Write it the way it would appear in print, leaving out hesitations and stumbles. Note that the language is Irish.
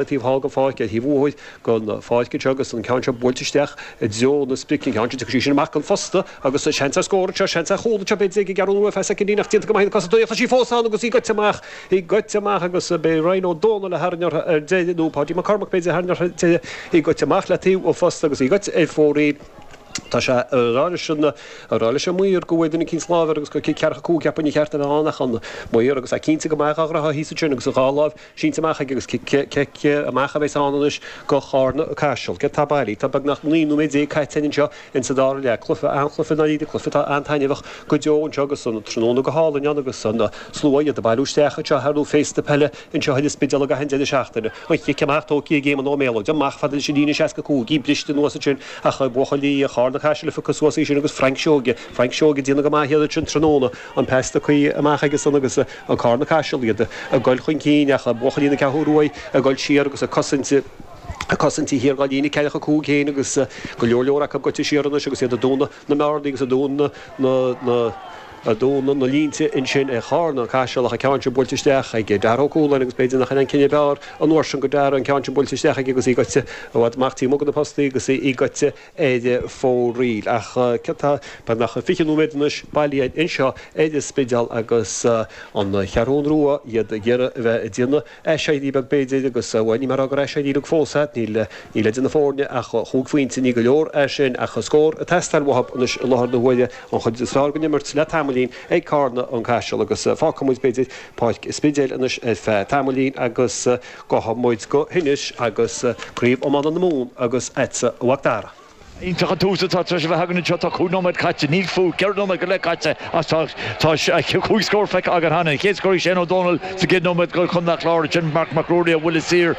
Taobh thall den pháirc, ar thaobh thuaidh den pháirc anseo agus an ceann seo buailte isteach i dtreo na sprice, an ceann seo, tiocfaidh sí sin amach den phosta agus seans ar scór anseo, seans ar chúl anseo b'fhéidir ag an gCeathrú Rua ar feadh soicindín ach déanta go maith ag na cosantóirí ach tá sí fós ann agus í goite amach, í goite amach agus beidh Ryan Ó Dónaill a tharraing uirthi ar deireadh nó Páidí Mac Cormaic b'fhéidir a tharraing uirthi ar deireadh, í goite amach le taobh an phosta agus í goite ar fóraoil. Tá sé ag rá leis an, ag rá leis an maor go bhfuair duine eicínt lámh air agus gur cic ceathracha 5 cheapfainn ba cheart a bheith ann ach an maor agus é cinnte go maith dhá ghnóthach thíos ansin agus a dhá láimh sínte amach aige agus cic, cic amach a bheas ann anois go Charna Caiseal. Céard tá bailí? Tá beagnach 19 nóiméad caite againn anseo insa dara leath. Cluiche, an-chluiche i ndáiríre, cluiche atá an-taitneamhach go deo anseo agus an tráthnóna go hálainn ann agus an slua iad ag bailiú isteach anseo ar ndóigh féasta peile anseo ar an Spidéal ag achan deireadh seachtaine. An chic amach tógtha ag Éamonn Ó Méalóid amach fada leis an líne 65, í briste anuas ansin ach buachaillí Charna Caiseal a phiocadh suas í sin agus Frank Seoige, Frank Seoige ag déanamh go maith iad ansin tráthnóna, an pas tugtha amach aige san agus an Carna Caiseal iad ag goil chun cinn ach buachaillí na Ceathrú Rua ag goil siar agus ag cosaint ag cosaint thiar dhá líne 45 féin agus go leor leor acu goite siar anois agus iad ag dúnadh na mbearnaí agus ag dúnadh na na ag dúnadh na línte ansin ag Carna Caiseal ach an ceann sin buailte isteach ag Dara Ó Cualáin agus b'fhéidir nach in an cinneadh ab fhearr an uair sin go Dara an ceann sin buailte isteach aige agus í goite i bhfad amach taobh amuigh de na postaí agus í goite ar fóraoil. Ach céard tá beagnach 20 nóiméad anois bailithe anseo ar an Spidéal agus an Cheathrún Rua, iad ag iarraidh a bheith ag déanamh aiséirí beag b'fhéidir agus, bhuel, ní mé a rá gur aiséirí uilig fós é, níl níl idir na foirne ach chúig phointe, ní go leor é sin ach scór ag teastáil uathu anois i láthair na huaire, an chuid is fearr den imirt le tamaillín ag Carna an Caiseal agus fágfaidh muid b'fhéidir Páirc an Spidéil anois ar feadh tamaillín agus Gabhfaidh muid go hInis agus Craobh Iomána na Mumhan agus agatsa a Mhac Dara. Iontach an tús atá tar éis a bheith againn anseo. Tá 5 nóiméad caite, níl fiú 4 nóiméad go leith caite ach tá tá 5 scór feicthe againn cheana. An chéad scór ag Shane Ó Dónaill sa gcéad nóiméad do Chontae an Chláir, ansin Marc Mac Ruairí a bhuille saor.